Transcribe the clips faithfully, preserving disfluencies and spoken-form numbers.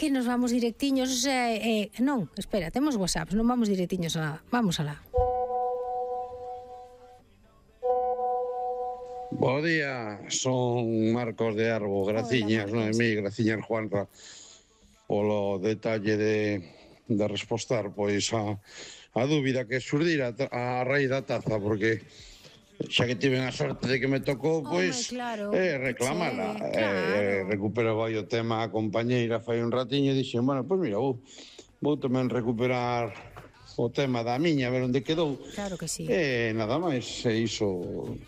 que nos vamos directiños, eh, eh, non, espera, temos WhatsApp, non vamos directiños a nada, vamos alá. Bo día, son Marcos de Arbo, graciñas, Noemí, graciñas Juanra polo detalle de, de respostar pois a, a dúbida que xurdira a raíz da taza, porque xa que tiven a sorte de que me tocou, pois, claro, eh, reclamala. che, claro. Eh, recupero vai o tema a compañeira fai un ratiño e dixen, bueno, pois mira, vou, vou tamén recuperar o tema da miña, a ver onde quedou. Claro que sí. E nada máis, e iso,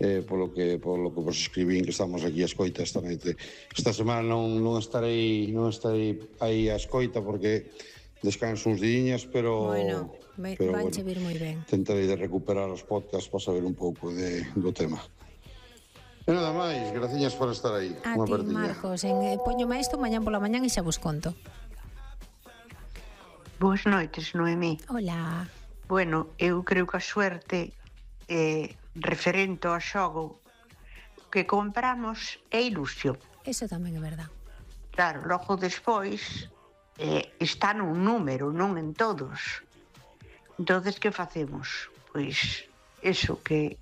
eh, polo que polo que vos escribín que estamos aquí a escoita esta noite. Esta semana non, non estarei non estarei aí a escoita porque descanso uns diñas, pero Bueno, pero vanche bueno, vir moi ben. tentarei de recuperar os podcasts para saber un pouco de, do tema. E nada máis, graciñas por estar aí. A ti, Marcos, en, eh, poñome isto mañán pola mañán e xa vos conto. Boas noites, Noemí. Hola. Bueno, eu creo que a suerte eh, referente ao xogo que compramos é ilusión. Eso tamén é verdad. Claro, logo despois eh, está nun número, non en todos. Entonces, que facemos? Pois, eso, que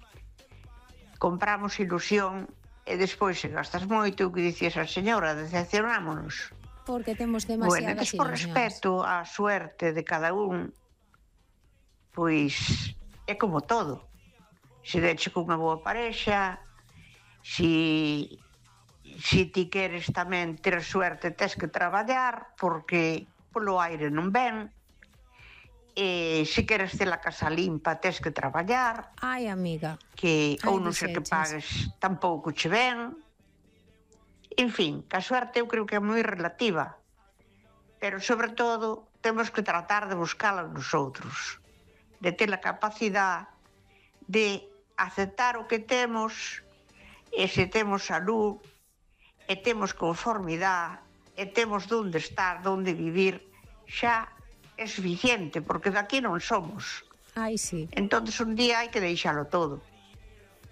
compramos ilusión e despois se gastas moito, o que dicías a señora, decepcionámonos. Porque temos Bueno, demasiadas ilusiones. Por respecto á suerte de cada un, pois é como todo. Se deche cunha boa parexa, si, si ti queres tamén ter suerte, tes que traballar, porque polo aire non ven. E se queres ter a casa limpa, tes que traballar. Ai, amiga. Que Ai, ou non sei que pagues, tampouco che ven. En fin, que a suerte eu creo que é moi relativa. Pero, sobre todo, temos que tratar de buscala nos outros. De ter a capacidade de aceptar o que temos, e se temos salud, e temos conformidade, e temos donde estar, donde vivir, xa é suficiente, porque daqui non somos. Ai, sí. Entonces un día hai que deixalo todo.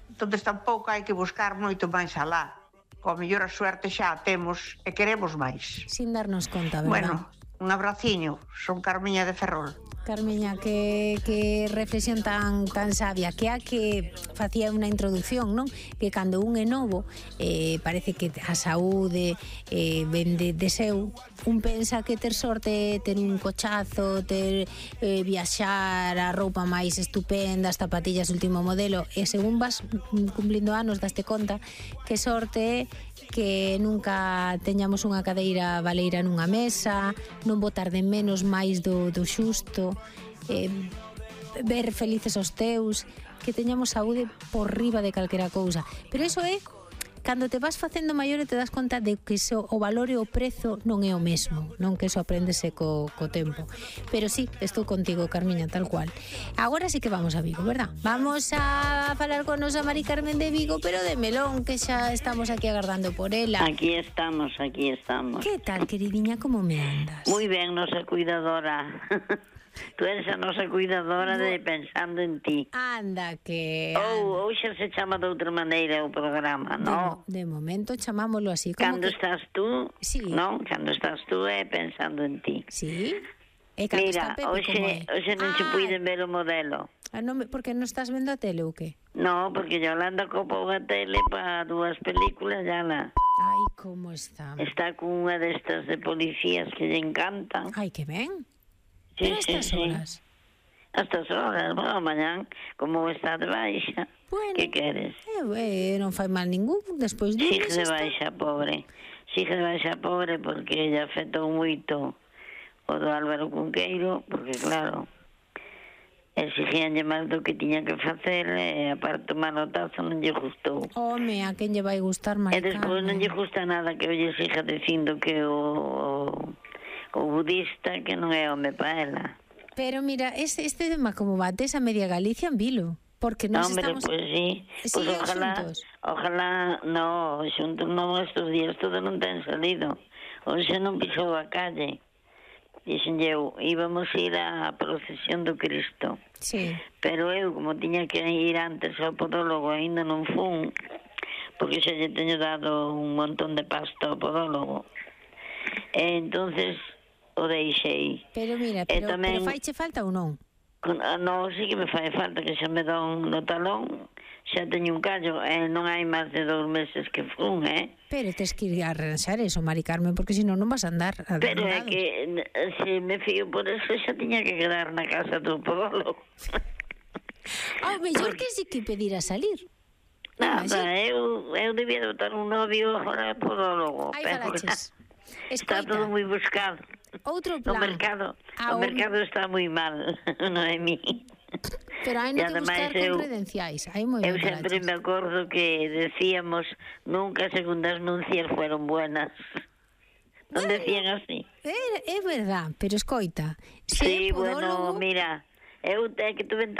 Entonces tampouco hai que buscar moito máis alá. Coa mellor a suerte xa a temos e queremos máis. Sin darnos conta, verdad? Bueno, un abraciño, son Carmiña de Ferrol. Carmiña, que, que reflexión tan tan sabia, que a que facía unha introducción, non? Que cando un é novo, eh, parece que a saúde eh, ven de, de seu, un pensa que ter sorte, ter un cochazo, ter eh, viaxar, a roupa máis estupenda, as zapatillas último modelo, e según vas cumplindo anos daste conta que sorte é que nunca teñamos unha cadeira baleira nunha mesa, non botar de menos máis do, do xusto, eh, ver felices os teus, que teñamos saúde por riba de calquera cousa. Pero iso é cando te vas facendo maior e te das conta de que iso, o valor e o prezo non é o mesmo, non que iso apréndese co, co tempo. Pero sí, estou contigo, Carmiña, tal cual. Agora sí que vamos a Vigo, verdad? Vamos a falar con nosa Mari Carmen de Vigo, pero de melón, que xa estamos aquí agardando por ela. Aquí estamos, aquí estamos. Que tal, queridinha, como me andas? Moi ben, nosa cuidadora. Tú eres a nosa cuidadora de Pensando en Ti. Anda, que... Ou, ou xa se chama de outra maneira o programa, non? De, de momento chamámolo así. Cando que... estás tú, sí. non? Cando estás tú é Pensando en Ti. Sí. E cando Mira, está Pepe, hoxe, como é? hoxe non ah. che puiden ver o modelo. Ah, non, porque non estás vendo a tele ou que? No, porque Yolanda copou a tele para dúas películas, ya la... Ai, como está. Está con unha destas de policías que lle encantan. Ai, que ben. Sí, Pero a estas sí, horas? Sí. A estas horas, bueno, mañán, como está de baixa, bueno, que queres? Eh, eh, non fai mal ningún, despois de Sigue de baixa, pobre. Sigue de baixa, pobre, porque ella afectou moito o do Álvaro Cunqueiro, porque, claro, exigíanlle máis do que tiña que facer, e aparte o manotazo non lle gustou. Home, a quen lle vai gustar, Mari Carmen? E despois non lle gusta nada que lle siga dicindo que o... o budista que non é home pa ela. Pero mira, este, este tema como bates a media Galicia en vilo, porque nos Hombre, estamos... pues sí, pues ojalá, xuntos? ojalá, no, xuntos non, estos días todo non ten salido, hoxe non pisou a calle, dixen eu, íbamos ir á procesión do Cristo, sí. Pero eu, como tiña que ir antes ao podólogo, ainda non fun, porque xa lle teño dado un montón de pasta ao podólogo. E entonces o deixei. Pero mira, pero, tamén, pero faiche falta ou non? Con, non, sí que me fai falta, que xa me dan no talón, xa teño un callo, e non hai máis de dous meses que fun, eh? Pero tes que ir a arranxar eso, Mari Carmen, porque senón non vas a andar. Pero é que se me fío por eso xa tiña que quedar na casa do podólogo. Ao mellor que si que pedir a salir. Nada, eu, eu debía de botar un novio agora podólogo. Aí falaches. Está todo moi buscado. Outro plan. O mercado, o mercado está moi mal, non é mi. Pero hai no que buscar con credenciais. Hai moi eu sempre me acordo que decíamos nunca segundas nuncias fueron buenas. Non decían así. É, é verdad, pero escoita. Sí, bueno, mira, eu te que tuve